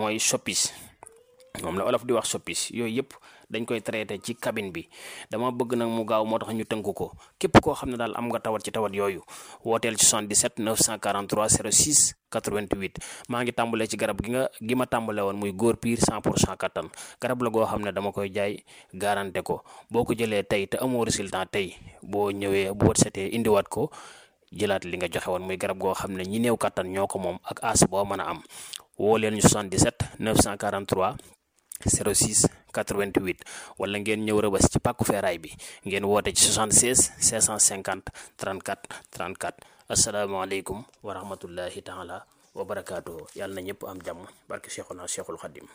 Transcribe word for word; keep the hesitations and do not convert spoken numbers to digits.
mooy soppis, moom la olof di wax soppis. yooyu yëpp dañ koy traité ci cabine bi. dama bëgg nag mu gaaw moo tax ñu tënk ko. képp koo xam ne daal am nga tawat ci tawat yooyu wooteel ci soixante-dix-sept neuf cent quarante-trois zéro six quatre-vingt-huit. maa ngi tàmbalee ci garab gi nga gi ma tàmbale woon muy góor piir cent pour cent kattan. garab la goo xam ne dama koy jaay garanté ko. boo ko jëlee tey te amoo résultat tey boo ñëwee bu wët setee indiwaat ko jëlaat li nga joxe woon. muy garab goo xam ne ñi néew kattan ñoo ko moom ak as boo mën a am. woo leen ñu soixante-dix-sept neuf cent quarante-trois zéro six quatre-vingt-huit wala ngeen ñëw Rëbës ci pàkku feeraay bi ngeen woote ci soixante-seize cinq cent cinquante trente-quatre trente-quatre. asalaamaaleykum wa rahmatullahi taala wa barakaatuhu. yàlla na ñëpp am jàmm barke Cheikhuna Cheikhul Khadim.